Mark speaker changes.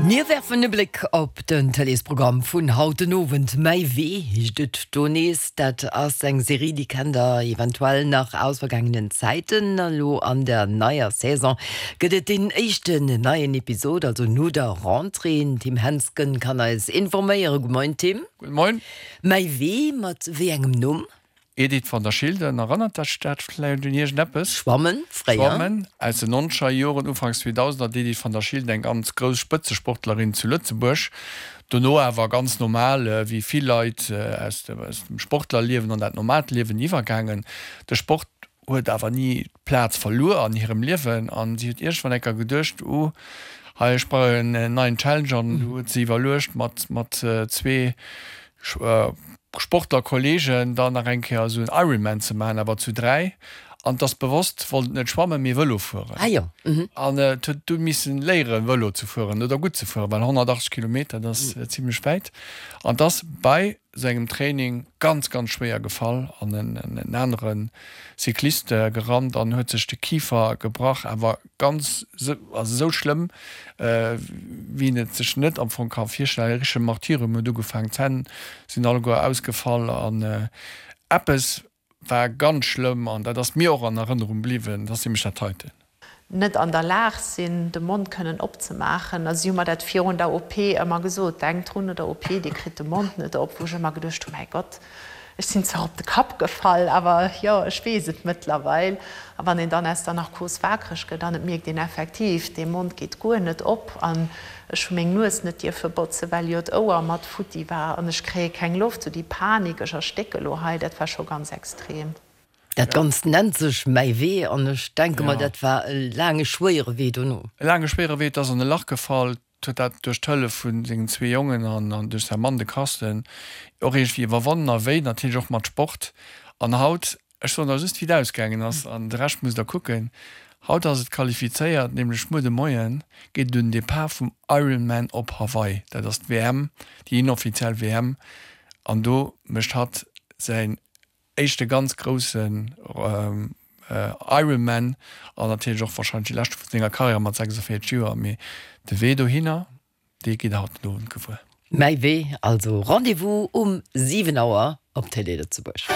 Speaker 1: Mir werfen e Bléck op den Tëleesprogramm vun haut den Owend. Mäi Wee heescht et do nees. Dat ass eng Serie, déi kennt der eventuell nach aus vergaangenen Zäiten. Elo an der neier Saison gëtt et deen éischten neien Episod, also no der Rentrée. Den Tim Hensgen kann eis informéieren. Gudde Moien Tim.
Speaker 2: Gudde Moien.
Speaker 1: Mäi Wee, mat wéi engem Numm?
Speaker 2: Edith van der Schilden, Erënnert dech dat vläicht un iergendeppes?
Speaker 1: Schwammen, fréier.
Speaker 2: Schwammen, aus den nonzeger Joren, Ufanks 2000er, d'Edith van der Schilden, eng ganz grouss Spëtzesportlerin zu Lëtzebuerg. Dono awer ganz normal, wéi vill Leit, aus dem Sportlerliewen an dat normaalt Liewen iwwergaangen. De Sport huet awer ni d'Plaz verluer an hirem Liewen an si huet iergendwann eng Kéier geduecht, Uh, hei, ech brauch en neien Challenge an du huet se iwwerluecht, mat zwee Sportler Kollegen dann nach eng Kéier esou en Ironman ze maachen, awer zu 3. An et ass bewosst, wollt et net schwammen, mee Vëlo fueren.
Speaker 1: Ah jo, mhm.
Speaker 2: An et huet du missen léieren Vëlo ze fueren oder gutt ze fueren, well 180 Kilometer, dat ass zimlech wäit. An et ass bei sou engem Training ganz, ganz schwéier gefall an en anere Cyclist gerannt an huet sech de Kifer gebrach, awer ganz, also esou schlëmm, wéi een et sech net am Fong ka virstellen. E richtege Martyrium huet ugefaangen, d'Zänn sinn alleguer ausgefall an eppes war ganz schlëmm an dat ass mir och an Erënnerung bliwwen, dat ass nämlech dat heiten.
Speaker 3: Net an der Lag sinn, de Mond kënnen opzemaachen. A si hu mer dat virun der OP ëmmer gesot, Denkt drun, no der OP, Dir kritt de Mond net op. Wou ech ëmmer geduecht hu, Mäi Gott, Ech sinn zwar op de Kapp gefall, awer jo, ech weess et mëttlerweil. A wann een dann aus der Narkos waakreg gëtt an et mierkt een effektiv, dee Mond geet guer net op an ech hu meng Nues net dierfe botzen, well jo d'Ouer mat futti war an ech kréie keng Loft, sou déi Panik, ech erstécke lo hei, dat war scho ganz extrem.
Speaker 1: Dat Ganzt nennt sech Mäi Wee an ech denke mer, dat war e laange schwéiere Wee dono.
Speaker 2: E laange schwéiere Wee, et ass an e Lach gefall, huet dat duerch d'Hëllef vu sengen zwee Jongen an duerch säi Mann, de Carsten, och iergendwéi iwwerwonnen a wéi natierlech och mat Sport. An haut, ech soen der just wéi et ausgaangen ass an de Rescht musst der kucken, haut ass et qualifizéiert, nämlech muer de Moien geet et un den Depart vum Ironman op Hawaii, dat ass d'WM, déi inoffiziell WM, an do mécht hatt säin éischte ganz groussen Ironman an natierlech och warscheinlech dee leschte vu senger Karriär mat 46 Joer. Mee de Wee dohinner, dee gitt der haut den Owend gewuer.
Speaker 1: Mäi Wee, also Rendez-vous um 7 Auer op Télé Lëtzebuerg.